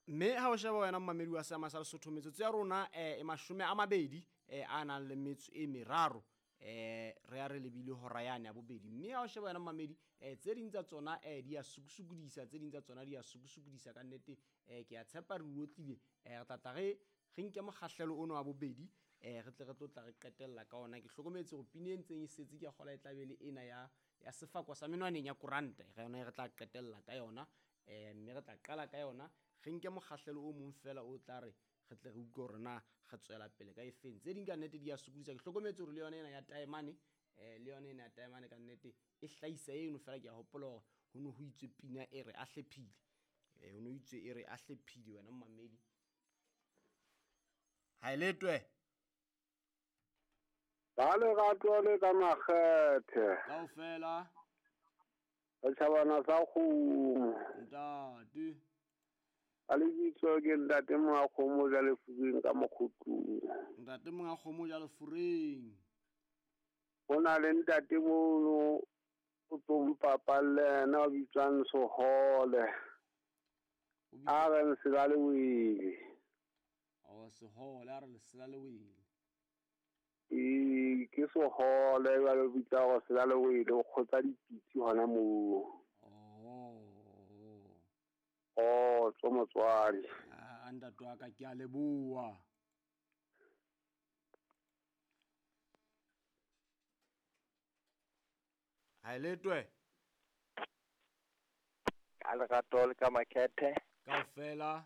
Mme ha o sheba wena momamedi wa seama sa Lesotho, metsotso ya rona e 20 a nang le metso e meraro, re ya re lebile hora yane ya bobedi. Mme ha o sheba wena momamedi, tse ding tsa tsona di a sukusukudisa, tse ding tsa tsona di a sukusukudisa ka nnete. Ke a tshepa re otlile, re tla tla re nke mokgahlelo ono wa bobedi, re tle re tlo tla re qetella ka ona. Ke hlokometse hore pina e ntseng e setse ke a kgola e tla be le ena ya sefako sa menwaneng ya koranta, re yona e re tla qetella ka yona. Mme re tla qala ka yona, re nke mokgahlelo o mong fela o tla re re tle re utlwe hore na re tswela pele ka efeng. Tse ding ka nnete di a sokodisa. Ke hlokometse hore le yona ena ya taemane, le yona ena ya taemane ka nnete e hlahisa eno fela. Ke a hopola hore ho ne ho itswe pina e re a hlephile, ho ne ho itswe e re a hlephile wena momamedi. Ha e letwe. Ba lerato le ka makgethe. Kaofela. Setjhabana sa kgomo. Ntate. Ka lebitso ke ntate monga kgomo ja lefureng ka mokgotlong. Ntate monga kgomo ja lefureng. Ho na le ntate mono o tlo mpapalle yena o bitswang Sehole. A re lesela le wele. O Sehole a re lesela le wele. Ee, ke Sehole jwale o bitsa hore sela le wele, o kgotsa dipitsi hona moo. Oh. Oh, tso motswadi. Ah, ntate wa ka ke a leboha. Ha e letwe. Ka lerato le ka makhethe. Kaofela.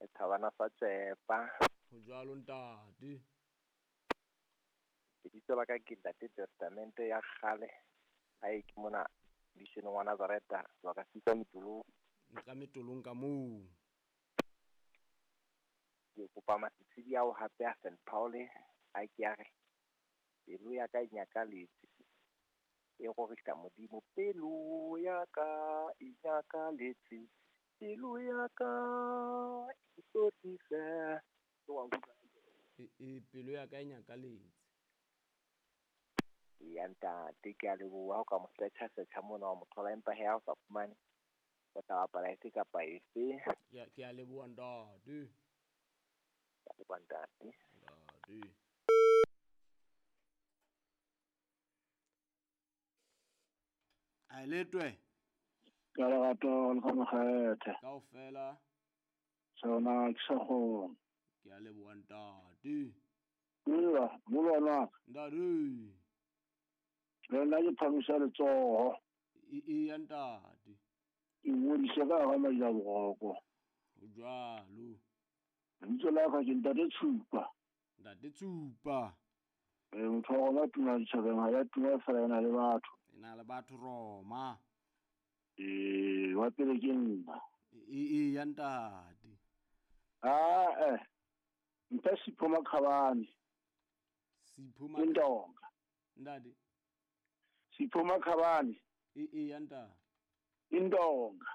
E thabana sa tsepa. Ho jwalo ntate. Lebitso la ka ke Ntate Testamente ya kgale. Ha e ke mona missioneng wa Nazareta, sebaka se ka Metolong. Nka Metolong ka moo. Ke kopa masitshidi ao hape a St. Paul a ke a re pelo ya ka e nyakaletse, e rorisa Modimo. Pelo ya ka e nyakaletse, pelo ya ka e tlotlise. E pelo ya ka e nyakaletse. Ya ntate, ke a leboha o ka mo search-a mona wa mo thola, empa he ha o sa fumane o tla bapala efe kapa efe. Ke a leboha ntate. Ke a leboha ntate. Ntate. A letwe. Ka lerato le ka mokgethe. Kaofela. Sona ke sa kgona. Ke a leboha ntate. Nna, molwana. Ntate. Le nna ke phamisa letsoho. E ya ntate. Ke ngodise ka hara madi a boroko. Ho jwalo. Lebitso la ka ke Ntate Tshupa. Ntate Tshupa. Motho wa rona tuma ditjhabeng, ha ya tuma fela e na le batho. E na le batho Roma. Wa pele ke nna. E ya ntate. Ah mphe Sipho Makhabane. Sipho Makhabane. Ndonga. Ntate. Sipho Makhabane. E ya ntate. Indonga.